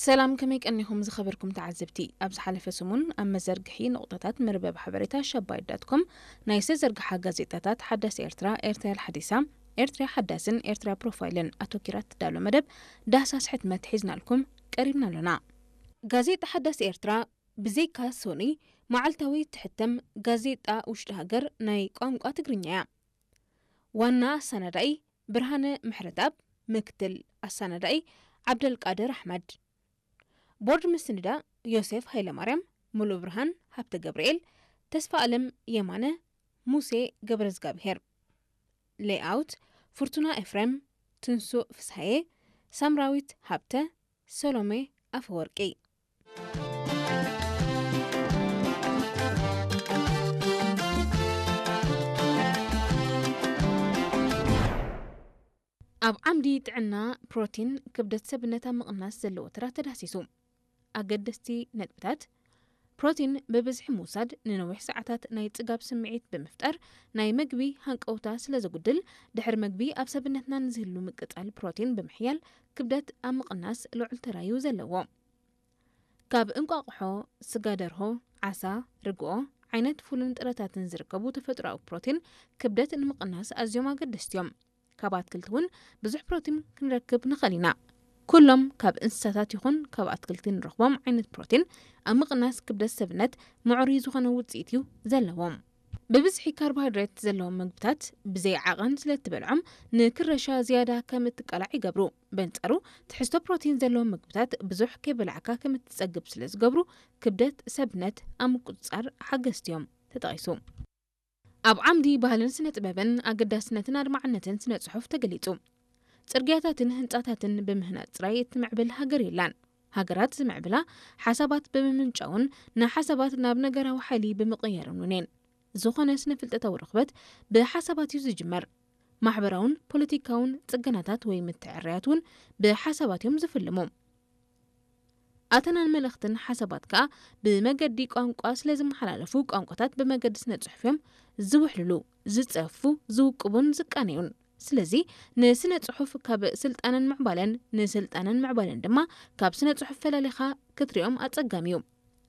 ሰላም፣ ከመይ ቀኒኹም ዝኸበርኩም ተዓዘብቲ? ኣብ ዝሓለፈ ሰሙን ኣብ መዘርግሒ ንቑጠታት መርበብ ሓበሬታ ሸባይት ዳት ኮም ናይ ዝተዘርግሓ ጋዜጣታት ሓዳስ ኤርትራ፣ ኤርትራ ሓዲሳ፣ ኤርትራ ሓዳስን ኤርትራ ፕሮፋይልን ኣተኪራ ትዳሎ መደብ ዳህሳስ ሕትመት ሒዝናልኩም ቀሪብና ኣሎና። ጋዜጣ ሓዳስ ኤርትራ ብዘይካ ሶኒ መዓልታዊ ትሕተም ጋዜጣ ውሽጢ ሃገር ናይ ቋንቋ ትግርኛ እያ። ዋና ኣሰናዳኢ ብርሃነ ምሕረትኣብ፣ ምክትል ኣሰናዳኢ ዓብደልቃድር ኣሕመድ፣ ቦርድ ምስንዳ ዮሴፍ ሃይለማርያም፣ ሙሉእ ብርሃን ሃብተ ገብርኤል፣ ተስፋ ኣለም የማነ፣ ሙሴ ገብረዝጋብሄር፣ ሌይኣውት ፍርቱና ኤፍሬም፣ ትንሱእ ፍስሃየ፣ ሳምራዊት ሃብተ፣ ሰሎሜ ኣፈወርቂ። ኣብ ዓምዲ ጥዕና ፕሮቲን ክብደት ሰብነት ኣብ ምቕናስ ዘለዎ ተራ ተዳህሲሱ። ኣገደስቲ ነጥብታት። ፕሮቲን ብብዝሒ ምውሳድ ንነዊሕ ሰዓታት ናይ ጽጋብ ስምዒት ብምፍጣር ናይ መግቢ ሃንቀውታ ስለ ዘጉድል፣ ድሕሪ መግቢ ኣብ ሰብነትና ንዝህሉ ምቅጻል ፕሮቲን ብምሕያል ክብደት ኣብ ምቕናስ ልዑል ተራዩ ዘለዎ። ካብ እንቋቑሖ፣ ስጋ ደርሆ፣ ዓሳ፣ ርግኦ፣ ዓይነት ፉልን ጥረታትን ዝርከቡ ተፈጥሮኣዊ ፕሮቲን ክብደት ንምቕናስ ኣዝዮም ኣገደስቲ እዮም። ካብ ኣትክልቲ እውን ብዙሕ ፕሮቲን ክንረክብ ንኽእል ኢና። ኩሎም ካብ እንስሳታት ይኹን ካብ ኣትክልቲ ንረኽቦም ዓይነት ፕሮቲን ኣብ ምቕናስ ክብደት ሰብነት ምዕሩይ ዝኾነ ውጽኢት እዩ ዘለዎም። ብብዝሒ ካርቦሃይድሬት ዘለዎም መግብታት ብዘይ ዓቐን ስለ እትበልዖም ንክረሻ ዝያዳ ከም እትቃላዕ ይገብሩ። በንጻሩ ትሕዝቶ ፕሮቲን ዘለዎም መግብታት ብዙሕ ከይበላዕካ ከም እትጸግብ ስለ ዝገብሩ ክብደት ሰብነት ኣብ ምቁጽጻር ሓገዝቲ እዮም። ተጠቒሱ። ኣብ ዓምዲ ባህልን ስነ ጥበብን ኣገዳስነትን ኣድማዕነትን ስነ ጽሑፍ ተገሊጹ። ጽርግያታትን ህንጻታትን ብምህናጽ ጥራይ እትምዕብል ሃገር የላን። ሃገራት ዝምዕብላ ሓሳባት ብምምንጫውን ንሓሳባት ናብ ነገራዊ ሓይሊ ብምቕያርን እውን እየን። ዝኾነ ስነ ፍልጠታዊ ርኽበት ብሓሳባት እዩ ዝጅመር። ማሕበራውን ፖለቲካውን ጽገናታት ወይ ምትዕርያት እውን ብሓሳባት እዮም ዝፍልሙ። ኣተናን መልእኽትን ሓሳባት ከኣ ብመገዲ ቋንቋ ስለ ዝመሓላለፉ፣ ቋንቋታት ብመገዲ ስነ ጽሑፍ እዮም ዝውሕልሉ፣ ዝጸፉ፣ ዝውቅቡን ዝቃነዩን። ስለዚ ንስነ ጽሑፍ ካብ ስልጣነን ምዕባለን፣ ንስልጣነን ምዕባለን ድማ ካብ ስነ ጽሑፍ ፈላሊኻ ክትሪኦም ኣጸጋሚ እዩ።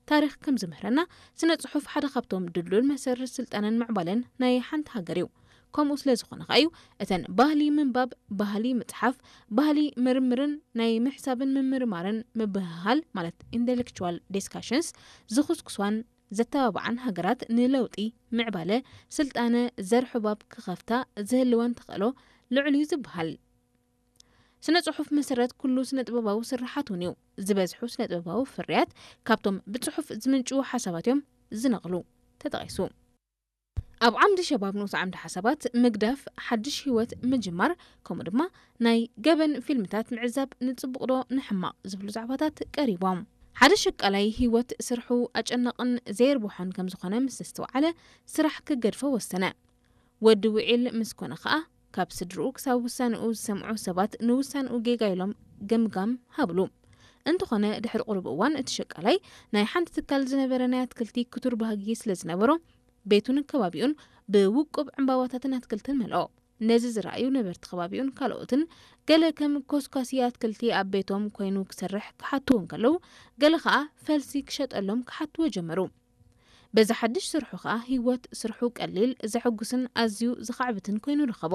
ታሪኽ ከም ዝምህረና፣ ስነ ጽሑፍ ሓደ ካብቶም ድልዱል መሰረት ስልጣነን ምዕባለን ናይ ሓንቲ ሃገር እዩ። ከምኡ ስለ ዝኾነ ከኣ እዩ እተን ባህሊ ምንባብ፣ ባህሊ ምጽሓፍ፣ ባህሊ ምርምርን ናይ ምሕሳብን ምምርማርን ምብህሃል ማለት ኢንተሌክቹዋል ዲስካሽንስ ዝኹስኩሷን ዘተባብዓን ሃገራት ንለውጢ፣ ምዕባለ፣ ስልጣነ ዘርሑባብ ክኸፍታ ዝህልወን ተኽእሎ ልዑል እዩ ዝበሃል። ስነ ጽሑፍ መሰረት ኩሉ ስነ ጥበባዊ ስርሓት እውን እዩ። ዝበዝሑ ስነ ጥበባዊ ፍርያት ካብቶም ብጽሑፍ ዝምንጭዉ ሓሳባት እዮም ዝነቕሉ። ተጠቒሱ። ኣብ ዓምዲ ሸባብ ንኡስ ዓምዲ ሓሳባት ምግዳፍ፣ ሓድሽ ህይወት ምጅማር፣ ከምኡ ድማ ናይ ገበን ፊልምታት ምዕዛብ ንጽቡቕ ዶ ንሕማቕ ዝብሉ ዛዕባታት ቀሪቦም። ሓደ ሸቃላይ ህይወት ስርሑ ኣጨናቕን ዘየርብሖን ከም ዝኾነ ምስ ኣስተውዓለ ስራሕ ክገድፎ ወሰነ። ወዲ ውዒል ምስ ኮነ ኸኣ ካብ ስድርኡ ክሳብ ውሳንኡ ዝሰምዑ ሰባት ንውሳንኡ ጌጋ ኢሎም ገምጋም ሃብሉ። እንተኾነ ድሕሪ ቁሩብ እዋን እቲ ሸቃላይ ናይ ሓንቲ ትካል ዝነበረ ናይ ኣትክልቲ ክቱር ባህጊ ስለ ዝነበሮ ቤቱን ከባቢኡን ብውቁብ ዕምባባታትን ኣትክልትን መልኦ። ነዚ ዝረኣዩ ነበርቲ ከባቢኡን ካልኦትን ገለ ከም ኮስኳሲ ኣትክልቲ ኣብ ቤቶም ኮይኑ ክሰርሕ ክሓትዎ እንከለዉ፣ ገለ ኸኣ ፈልሲ ክሸጠሎም ክሓትዎ ጀመሩ። በዚ ሓድሽ ስርሑ ኸኣ ህይወት ስርሑ ቀሊል፣ ዘሐጉስን ኣዝዩ ዘኻዕብትን ኮይኑ ረኸቦ።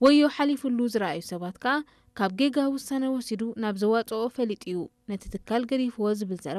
ወዮ ሓሊፉሉ ዝረኣዩ ሰባት ከኣ ካብ ጌጋ ውሳነ ወሲዱ ናብ ዘዋጽኦ ፈሊጡ እዩ ነቲ ትካል ገዲፍዎ ዝብል ዘረባ